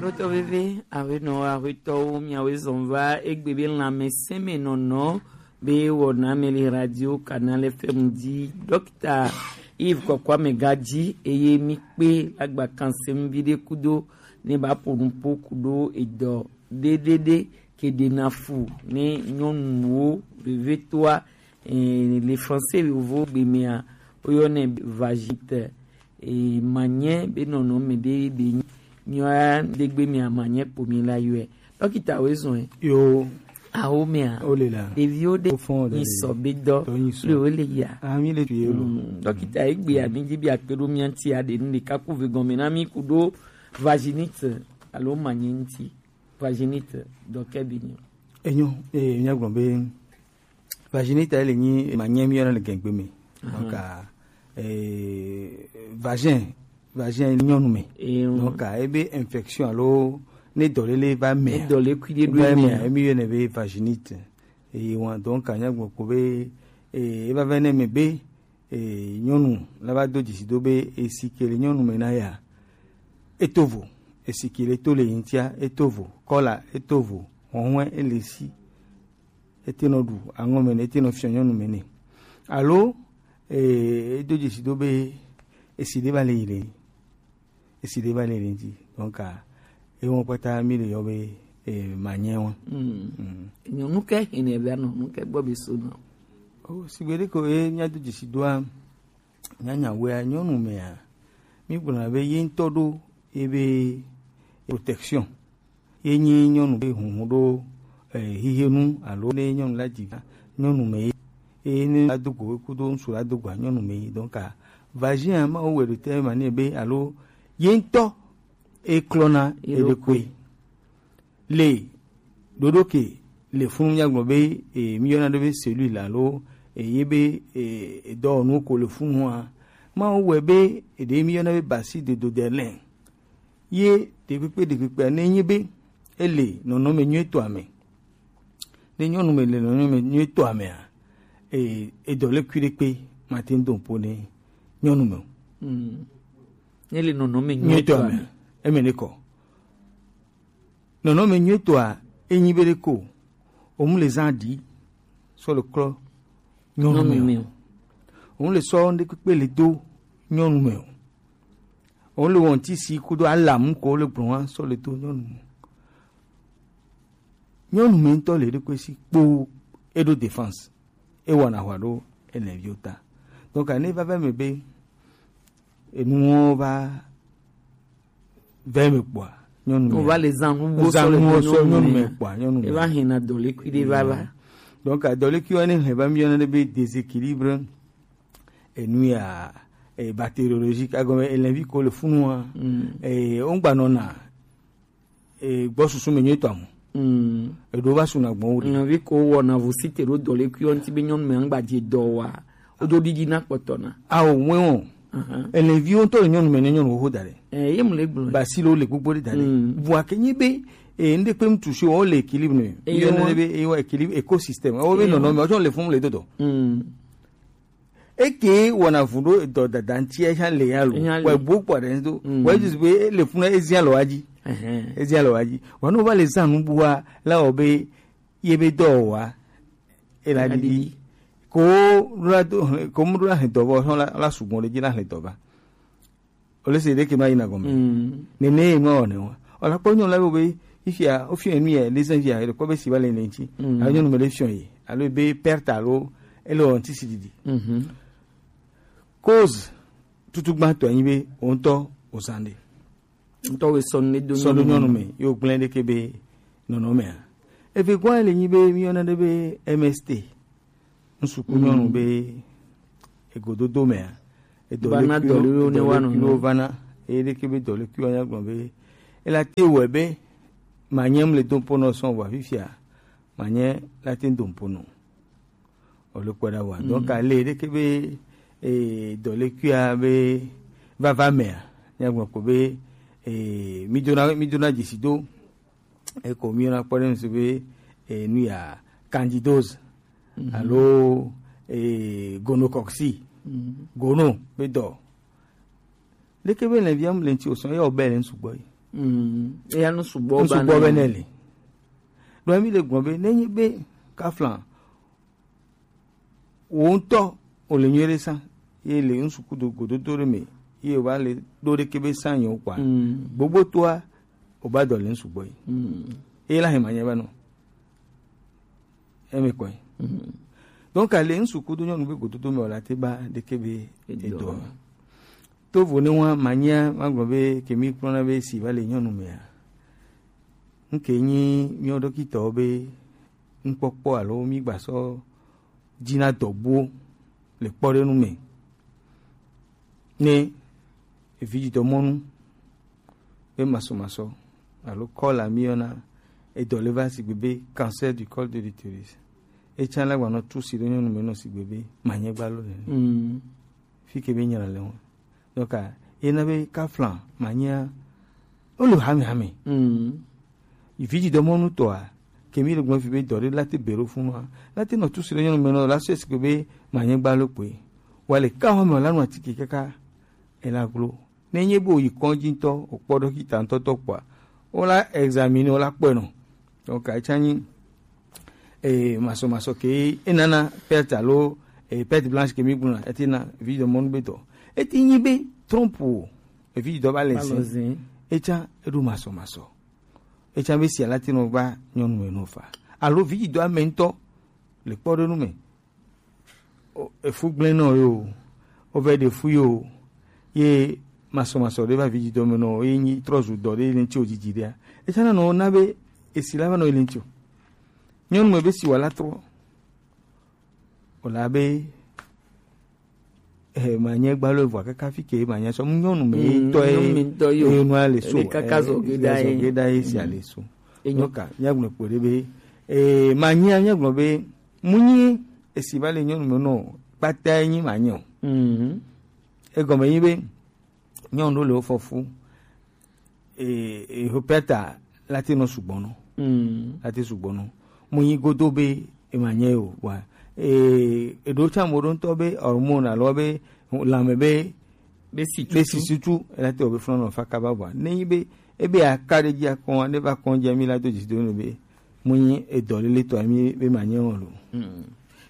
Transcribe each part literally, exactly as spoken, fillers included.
Ɖotɔ veve, awenɔ ahuetɔwo, miawoe zɔn va egbe be lãmesẽmenɔnɔ be wɔna me le radio Canal F M dzi. Dɔkita Yves Kɔkɔame ga dzi eye mi kpe lagba kan se ŋu viɖe kudo ne ba ƒo nuƒo kudo edɔ ɖeɖeɖe ke ɖena fu ne nyɔnuwo vevetoa, eh, le français yovo gbe mea woyɔnɛ vagite. Eh, manye be nɔnɔme ɖe ɖe nyi nyɔa ɖegbe mea manye kpo mi la yɔe. Dɔkita wo zɔn e. Yo. Awo mea. O le la. Ɖeviwo ɖe. O fɔn o le nyi le. Sɔ be dɔ. Dɔ nyi sɔ. Le wo le ya. Ah, mi le tu ye lo. Mm, dɔkita egbe ya mi dzi bi akpe ɖo mia ŋuti ya ɖe nu ɖeka ku ve gɔme na mi ku ɖo vaginite alo manye ŋuti. Vaginite dɔ ke bi nyi. Enyo, eh, mia gblɔ be vaginite ele nyi manye mi yɔna le gɛngbe me. Donc, ah, eh, vagin, vagin nyɔnu me. Donc, ah, ebe infection alo ne dɔlele va me. Ne dɔlele kui ɖe ɖo va me, emi yɔnɛ be vaginite. Eye wa, donc, ah, mia gblɔ ko be, eh, eva va ne me be, eh, nyɔnu la va do dzesi do be esi ke le nyɔnu me na ya. Eto vo, esi ke le to le ŋutia, eto vo, kɔla, eto vo, hɔhɔe, ele si. Ete nɔ ɖu aŋɔ me ne, ete nɔ fiɔ nyɔnu me ne. Alo, eh, edo dzesi do be esi ɖe va le yi le, esi ɖe va le yi le ŋuti. Donc, ah, ewɔ kpata mi le yɔ be, eh, manye wa. Mm. Mm. Nyɔnu ke hene be anɔ nu ke gbɔ be so nɔ. O, sigbe ɖe ko ye mia do dzesi doa, nyanya wea nyɔnu mea, mi gblɔna be ye ŋutɔ ɖo ye be protection. Ye nyi nyɔnu be hunhun ɖo, eh, hihenu alo ne nyɔnu la dzi vi nyɔnu me ye. Eye ne la do go kudo ŋsu la do go nyɔnu me ye. Donc, ah, vagin ma wo wɛ ɖo te ma ne be alo ye ŋutɔ e klɔna eɖokui. Le ɖoɖo ke le funu mia gblɔ be, eh, mi yɔna ɖo be cellule alo, eh, ye be, eh, dɔwɔnu ko le funua. Ma wo wɛ be eɖe mi yɔna be basi de do de lɛ. Ye ɖekpekpe ɖekpekpe ne nyi be ele nɔnɔme nyuitɔa me. Ne nyɔnu me le nɔnɔme nyuitɔa mea, e, edɔ le kui ɖekpe mate ŋu do ƒo ne nyɔnu me o. Mm. Ne le nɔnɔme nyuitɔa me, eme ne kɔ. Nɔnɔme nyuitɔa enyi be ɖe ko, o mu le zã ɖi sɔ le klɔ nyɔnu me o. O mu le sɔ ŋɖe kpekpe le do nyɔnu me o. Wole wɔn ti si kudo alamu ko le gblɔ wa sɔ le to nyɔnu. Nyɔnu me ŋutɔ le ɖekpe si kpo eɖo défense. Ewɔna hwa ɖo enɔviwo ta. Donc, ne va va me be enuwo va va me kpɔa, nyɔnu me. Wova le zã nuwo sɔ le nyɔnu me kpɔa, nyɔnu me. Eva hena dɔlekui ɖe va va. Donc, dɔlekui wa ne he va mi yɔna ɖe be déséquilibre. Enu ya, eh, bactériologique, agɔme, eh, lɛnvi ko le funu wa, eh, o ŋgba nɔna, eh, gbɔ susu me nyuitɔ amu. Eɖo va suna gbɔn wo ɖe. Lɛnvi ko wɔna vu si te ɖo dɔ le kui ŋuti be nyɔnu me ŋgba dze dɔ wa, o do ɖiɖi na kpɔtɔ na. Awo, mɔe wɔn. Lɛnvi wo ŋutɔ le nyɔnu me ne nyɔnu xoxo da ɖe. Eh, ye mu le gblɔ. Basi le wo le gbogbo ɖe da ɖe. Vua ke nyi be, eh, ŋɖe kpe ŋutu si wo le équilibre ne. Eyo wa. Be, eyo équilibre, écosystème. Wo be nɔnɔme, o tsɔ le funu le dodɔ. Eke wɔna vu ɖo dɔ dada ŋuti ya le ya lo. Wɔ bu kpɔ ɖe ŋdo. Wɔ Jesus be le funu ezia lo aji. Ezia lo aji. Wɔ no va le zã nu bua la wɔ be ye be dɔ wa. Ela didi. Ko la do, ko mu la he dɔ vɔ la, la sugbɔn le ji la he dɔ va. Ole se ɖeke ma yina gɔme. Nene ye ma wɔne wa. Ola kpɔ nyɔnu la be, ifia, o fiɔ enu ye, les envies, le kpɔ be si va le ne ŋuti. Alo nyɔnu me le fiɔ ye. Alo be perte alo, ele wɔ ŋuti si didi. Cause, tutu gbãtɔ nyi be, o ŋutɔ, o zã ɖe. Ŋutɔ we sɔ nu do sɔ do nyɔnu me, yo gblẽ ɖeke be, nɔnɔmea. Eve gɔa le nyi be, mi yɔna ɖe be M S T. Ŋsu ku nyɔnu be egododo mea, edɔ le kuiwo vana, eye ɖeke be dɔ le kuiwo nya gblɔ be ela te wɔe be manye mu le do ŋpo nɔ sɔn vɔ fifia, manye la te do ŋpo nɔ. O le kpɔ ɖa wa. Donc, ale ɖeke be, eh, dɔ le kuia be vava mea, nya gblɔ ko be, eh, mi dona, mi dona dzesi do. Eko mi yɔna kpɔ ɖe ŋsu be, eh, nu ya candidose alo, eh, gonocoque. Gono be dɔ. Leke be lɛnvia mu le ŋuti o sɔn ya o be le ŋsu gbɔ yi. Mm. Eya nu sugbɔ ba nɛ. Sugbɔ bɛ nɛ le. Ɖo mi le gbɔn be ne nyi be kafla wo ŋutɔ o le nyuie ɖe sa ye le ŋsu kudo gododo ɖe me ye o ba le ɖo ɖe ke be sa nyɔ kpa. Mm. Gbogbo toa o ba dɔ le ŋsu gbɔ yi. Mm. Ye la hema nya ba nɔ. Eme kɔe. Mhm. Donc, ale ŋsu kudo nyɔnu be gododo me wala te ba ɖeke be Edɔ. Edɔ. To vo ne wa manya magblɔ be kemi kplɔna be si va le nyɔnu mea. Nke nyi miɔ dɔkitɔwo be ŋkpɔkpɔ alo mi gbasɔ dzina dɔgbuwo le kpɔɖenu me. Ne evidzidɔmɔnu be masɔmasɔ alo kɔla mi yɔna edɔ le va sigbe be cancer du col de l'utérus. Etsa la gbanɔ tu si ɖe nyɔnu me nɔ sigbe be manyɛ gbalo le. Mm. Fi ke be nyra le ŋu. Donc, a, ena be kafla manyɛ o le hame hame. Mm. Evidzidɔmɔnu tɔa, kemi le gbɔn fi be dɔ ɖe la te be ɖo funu a. La te nɔ tu si ɖe nyɔnu me nɔ la sɔ sigbe be manyɛ gbalo kpe. Wa le ka home o la nu atike kaka ela glo. Ne nye be o yi kɔdzi ŋutɔ, o kpɔ dɔkita ŋutɔ tɔ kpɔa, o la examiner, o la kpɔe nɔ. Donc, etsa nyi, eh, masɔmasɔ ke enana perte alo, eh, perte blanche ke mi gblɔna, ete na evidzidɔmɔnu be dɔ. Ete nyi be trompe o, evidzidɔ ba le zin. Etsa eɖo masɔmasɔ. Etsa be si ala te nɔ va nyɔnu me nɔ fa. Alo evidzidɔ ame ŋutɔ le kpɔɖenu me. O, efu gblẽ nɔ yo, o vɛ ɖe fu yo, ye masɔmasɔ ɖe va vi dzidɔ me nɔ, ye nyi trɔ zu dɔ ɖe le ŋuti o dzidzi ɖea. Etsana nɔ na be esi la va nɔ le ŋuti o. Nyɔnu me be si wa la trɔ. O la be, eh, manyɛ gbalo evɔ kaka fi ke manyɛ sɔ nyɔnu me Mm, tɔ ye, nyɔnu me tɔ ye o. Ye nua le so, Ele kaka eh, zɔ ge da ye. Zɔ ge da ye si Mm. ale so. Enyo. Nyoka, nyagblɔ kpo ɖe be, eh, manyɛ, nyagblɔ be, Mu nyi esi va le nyɔnu me nɔ kpata nyi ma nyi o. Mhm. Egɔme nyi be nyɔnu ɖo le wo fɔfu. E, e ho pɛta la te nɔ sugbɔ nɔ. Mhm. La te sugbɔ nɔ. Mu nyi godo be e ma nyi o wa. E, e ɖo tsa mo ɖo ŋutɔ be hormone alo be lãme be Be si be tutu. Si tutu, ela te wɔ be funa nɔ fa kaba bua. Ne nyi be, ebe aka ɖe dzi akɔn, ne va kɔn dzi, mi la do dzi do ne be, mu nyi edɔ lele tɔ, mi be ma nye wɔn lo. Mm.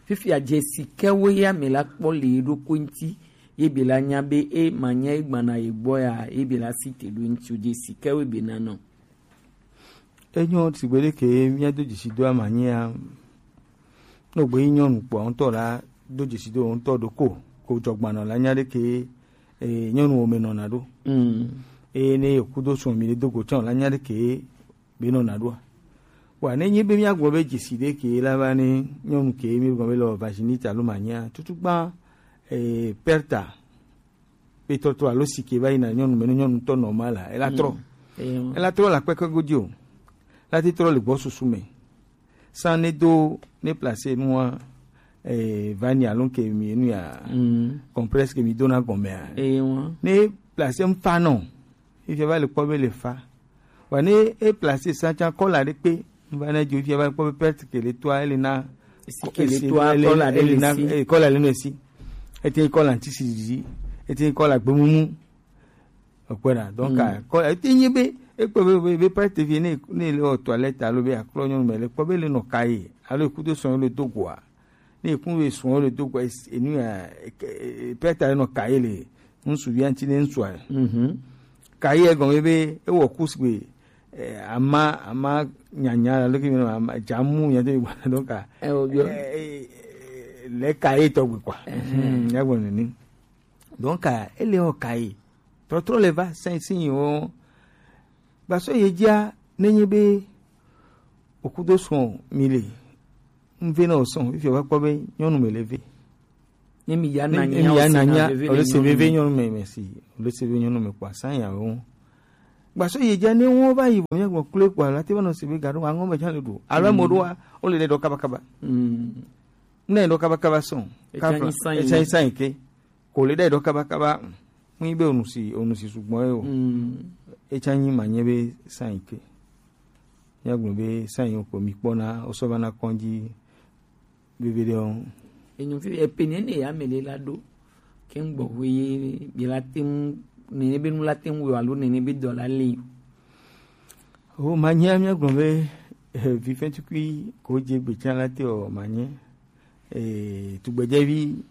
Fifia dzesi ke wo ya me la kpɔ le ɖo ko ŋti, ye be la nya be e ma nya e gbana ye gbɔ ya, ye be la si te ɖo ŋti o dzesi ke wo be na nɔ. Enyo sigbe ɖe ke míado dzesi do ama nyia, ne wògbe yi nyɔnu kpɔa, ŋutɔ la do dzesi do ŋutɔ ɖo ko, ko dzɔgbanɔ la nya ɖe ke, eh, nyɔnu wo me nɔna ɖo. Mm. Eye ne yeku do sɔn mi ɖe do go tsã la nya ɖe ke be nɔna ɖoa. Wa ne nyi be míagblɔ be dzesi ɖe ke la va ne nyɔnu ke mi gblɔ be le vaginite alo manyia, tutu gbã, eh, perte. Be trɔtrɔ alo si ke va yina nyɔnu me, ne nyɔnu tɔ normal la, ela trɔ. Mm. Ela trɔ le akpekpe godzi o. La te trɔ le gbɔ susu me. San ne do, ne place nua, eh, vani alo ke mi nu ya, mm, compresse ke mi dona gɔmea. Ne place mfa nɔ. Ifia va le kpɔ be le fa. Wa ne e place sa tsã kɔla ɖe kpe, va ne dzo fia va kpɔ be perte ke le toa, ele na, esi ke le toa, ele, kɔla ɖe ele le na, si. Eh, kɔla le no esi. Ete kɔla ŋti si dzi, ete kɔla gbemumu. Okpɔna, donc, mm, a, kɔla, ete nye be, ekpɔ be, be, be perte vie ne, ne le o toilette alo be aklɔ nyɔnu me le kpɔ be le nɔ ka ye, alo ekudo sɔn le do goa. Ne ekun be sɔn le do goa, es-, enu ya, e, e, perte nɔ ka ye le. Ŋsu via ŋti ne ŋsua. Mhm. Ka ye gɔme be ewɔ ku sigbe, eh, ama, ama nyanya la, leke mi ama jamu nya te gba, donc, a, eh, o, yo. Eh, eh, eh, le ka ye tɔgbe quoi. Mhm. Hmm, ya gbɔ nini. Donc, a, ele o ka ye. Trɔtrɔ le va, sin, sin, o. Gbasɔ ye dzia, ne nye be, okudo sɔn mi le. Ŋve na o sɔn, fifia wa kpɔ be nyɔnu me le ve. Ne mi ya na nya, o se veve nyɔnu me, merci. O le se veve nyɔnu me kpɔ asan ya wo. Gbasɔ ye dza ne wo va yi bo mia gbɔ kule kpɔ la te va nɔ se be ga ɖo aŋɔ me dza le ɖo. Alo mo ɖo a, o le ɖe ɖɔ kaba kaba. Mm. Ne ɖɔ kaba kaba sɔn. Etsa nyi san yi ke. Ko le ɖe ɖɔ kaba kaba. Mu yi be onu si, onu si sugbɔ ye o. Mm. Etsa nyi ma nye be san yi ke. Mia gblɔ be san yi ko mi kpɔna, o sɔ va na kɔndzi. Vivi ɖe o. Enyo fi epe nene ya me le la ɖo. Ke ŋgbɔ ʋu ye bi la te ŋu, nene be nu la te ŋu yɔ alo nene be dɔ la le yi. O manye, mia gblɔ be, eh, vifɛn tukui ko dze gbe tsã la te o manye. Eh, tugbedzevi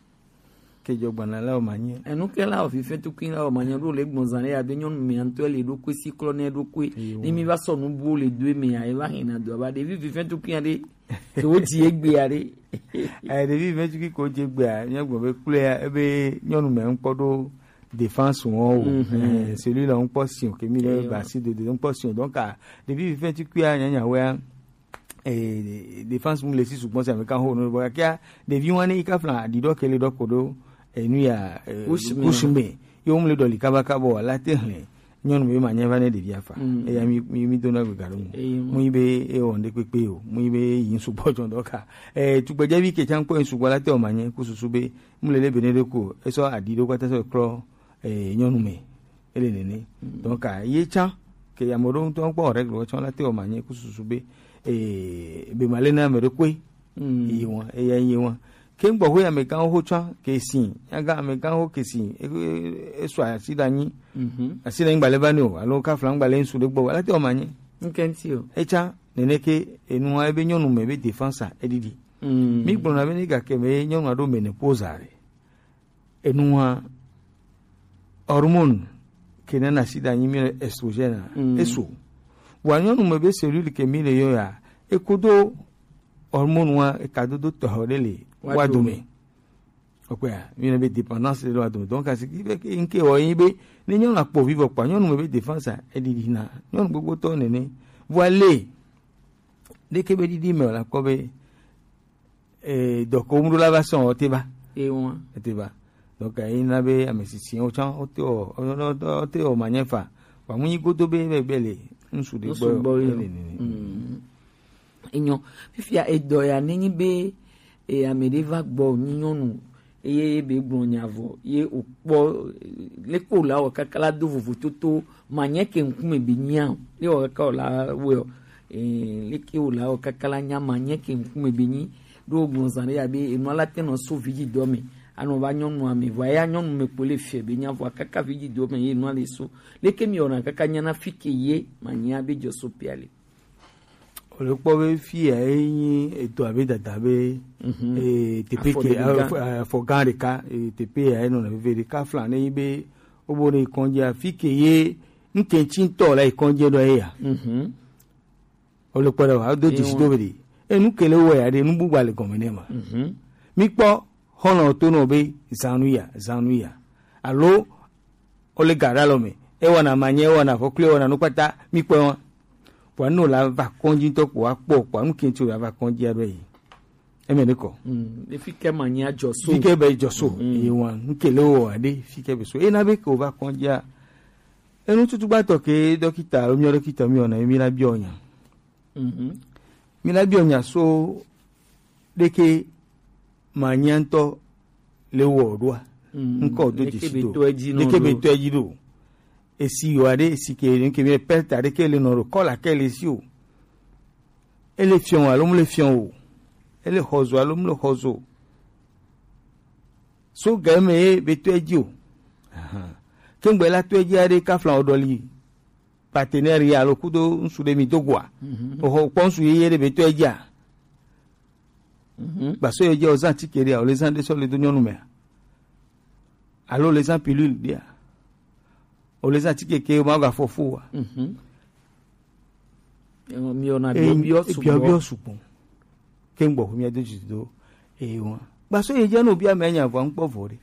ke dzɔ gbana la o manye. Enu ke la o vifɛn tukui la o manye ɖo le gbɔn zan ɖe ya be nyɔnu mɛ ŋutɔ le ɖo koe si klɔ ne ɖo koe. Eyo. Ne mi va sɔ nu bu le do me ya, e va hɛn na do aba ɖevi vifɛn tukui ya ɖe. Ke wo dzi egbe ya ɖe. Eh, ɖevi vifɛn tukui ko dze gbe ya, mia gblɔ be kple ya, ebe nyɔnu mɛ ŋkpɔ ɖo défense ŋɔ o. Mhm. Eh, celui-là ŋkpɔ si o, ke mi le Eyo. Ba si de, de ŋkpɔ si o. Donc, ah, ɖevi vifɛn tukui ya, nyanya wea, eh, défense mu le si sugbɔ si ame kan ho no, bo kia, ɖevi wani ka flan, di do ke le do ko do, eh, nu ya, eh, Kush me. Kush me. Yo mu le dɔli kaba kaba o, la te hle. Nyɔnu be ma nya va ne ɖevia fa. Mm. Eya mi, mi, mi do na gbe ga ɖo mu. Eyi mu. Mu yi be e wɔ ŋɖe kpekpe o. Mu yi be yi ŋsu gbɔ jɔ dɔ ka. Eh, tugbedzevi ke tsã kpɔ ŋsu gbɔ la te o ma nye ku susu be mu le le be ne ɖe ko. E sɔ aɖi ɖo kpata sɔ klɔ, eh, nyɔnu me. Ele nene. Mm. Donc, ah, ye tsã, ke ame ɖewo ŋutɔ kpɔ règle tsã la te o ma nye ku susu be, eh, be ma le na ame ɖe koe. Mm. Yi wɔn, eya yi wɔn. Ke ŋgbɔ ho amegãwo ho tsã ke si, nyaga amegãwo ke si, e, e, e sɔ asi ɖe anyi. Mhm. Asi ɖe anyi gbalẽ va ne o, alo kafla gbalẽ ŋsu ɖe gbɔ, ala te o ma nyi. Ŋkɛnti o. Etsa, nene ke enua ebe nyɔnu me be défense a, edidi. Mm. Mi gblɔna be ne gake me nyɔnu aɖo menopause a ɖe. Enua hormone ke nana asi ɖe anyi mi le estrogène a, Mm. eso. Wa nyɔnu me be cellule ke mi le yɔ ya, ekodo hormone wa eka dodo tɔxɛ ɖe le Wa wa dome. Dome. Okpea, mi le be dépendance ɖe le wa dome. Donc, asi ki be ke, nke wɔ yi be, ne nyɔnu akpɔ vivɔ kpa, nyɔnu me be défense a, edidi na. Nyɔnu gbogbo tɔ nene. Vɔ le, ɖeke be didi me la kpɔ be, eh, dɔ ko mu ɖo la va sɔn, o te va. E wa. E te va. Donc, eh, yi na be ame sisi o tsã, o te o, o, o, o te o ma nye fa. Wa mu nyi godo be, be, be le, ŋsu ɖe Ŋsu gbɔ, gbɔ ye. Ele nene. Mm. Enyo, fifia edɔ ya nenyi be, e, ame ɖe va gbɔ nyi nyɔnu, eye ye be gblɔ nya vɔ, ye o kpɔ, e, leke o la wɔ kaka la do vovototo, ma nye ke ŋkume be nyia o, ye wɔ kaka o la wɔ, e, leke o la wɔ kaka la nya ma nye ke ŋkume be nyi, ɖo gblɔ zan ɖe ya be, enua la te nɔ so vidzi dɔ me, anɔ va nyɔnu ame, vɔ ya nyɔnu me kpo le fia be nya vɔ kaka vidzi dɔ me, ye enua le so, leke mi wɔna kaka nya na fi ke ye, ma nyia be dzɔ so pia le. Wòle kpɔ be fi ya ye nyi edo abe dada be, Mhm. eh, teƒe ke, Afɔ ɖeka. Afɔ, afɔ gã ɖeka, eh, teƒe ya ye nɔna veve ɖeka fla ne yi be wobo ne yi kɔndzia, fi ke ye ŋkɛntsi ŋutɔ la yi kɔndzia ɖo ye ya. Mhm. Wòle kpɔ ɖe wa, do Ewa. Dzesi do be ɖe. E nu ke le wɔ ya ɖe, nu bubu le gɔme ne ma. Mhm. Mi kpɔ, xɔlɔ to nɔ be zanu ya, zanu ya. Alo, o le ga ɖe alɔ me. E wɔna manye, e wɔna afɔkli, e wɔna nu kpata, mi kpɔe wa. Kpɔa, ne o la va kɔndzi ŋutɔ kpɔa, kpɔ kpɔa, nu ke ŋuti o la va kɔndzi aɖo yi. Eme ne kɔ. Mm, efi ke manye adzɔ so. Fi ke be dzɔ so. Mm. Ye wa, nu ke le wɔ aɖe, fi ke be so. E na be ke o va kɔndzia. Enu tutu gbatɔ ke dɔkita, alo mi dɔkita mi wɔna, mi la biɔ nya. Mhm. Mi la biɔ nya so ɖeke ma nya ŋutɔ le wɔ ɖoa. Mhm. Ŋkɔ do Ɖeke dzesi be do. Tɔ edzi nɔ Ɖeke be ɖo. Tɔ edzi ɖo. Esi yɔ aɖe, esi ke, ke mi pɛrta ɖeke le nɔ ɖo, kɔla ke le si o. Ele fiɔ alo mu le fiɔ o. Ele xɔzo alo mu le xɔzo. So ga me ye be tɔ edzi o. Aha. Ke ŋgbe la tɔ edzi aɖe kafla o ɖɔli. Partenaire ya alo kudo ŋsu ɖe mi do goa. Mhm. Oxɔ kpɔ ŋsu yeye ɖe be tɔ edzia. Mhm. Gbaso ye dze o zan tike ɖea, o le zan ɖe sɔ le do nyɔnu mea. Alo o le zan pilule ɖea. O le zan tike ke ma ga fɔ fo wa. Mhm. Eo, mi ona Eh, biɔ biɔ eh, biɔ biɔ sugbɔ. Sugbɔ. Ke ŋgbɔ mi do dzi do. Eh, wa. Gbaso ye dze no bia me nya vɔ ŋkpɔ vɔ ɖe.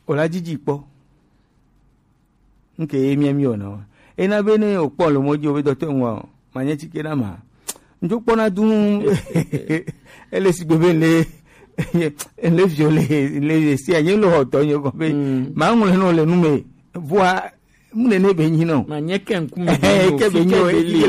O la dzidzi kpɔ. Nke ye mia mi wɔna wa. Ena be ne o kpɔ le mɔ dzi o be dɔtɔ ŋua o, ma nye tike na ma. Ŋdzo kpɔna du ele sigbe be le, le viole, le sia nye lo hɔtɔ nye kɔ be, Mm. Ma ŋlɔ no le nu me, vɔa, mu ne ne be nyi no. Ma nye ke ŋkume Eh, be ke be nyi o, ke be li.